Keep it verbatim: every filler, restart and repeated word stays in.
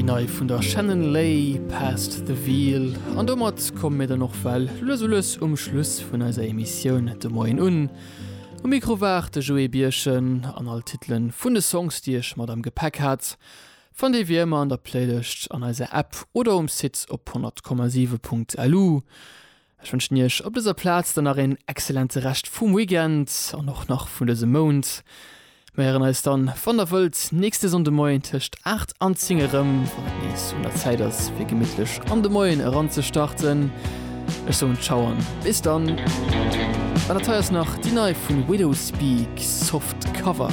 déi nei vun der Shannon Lay Past the Veil. An domat komme mir dann och well lues a lues um Schluss vun eiser Emissioun de Moien un. Um Mikro war de Joé Birchen an all Titelen vun de Songs, déi ech mat am Gepäck hat. Fannt dir wéi ëmmer an der Playlist an eiser App oder um Site op honnert Komma siwe Punkt L U. Ech wënschen iech op dëser Plaz dann nach een exzellente Rescht vum Weekend an och nach vun dësem Mount. Mir héieren eis dann, wann der wëllt, nächste Sonndemoien tëscht aacht an zéng erëm, wann et nees un der Zäit ass, fir gemittlech an de Moien eranzestarten. Ech soen Ciao an bis dann. An dat hei ass nach déi nei vun Widowspeak Soft Cover.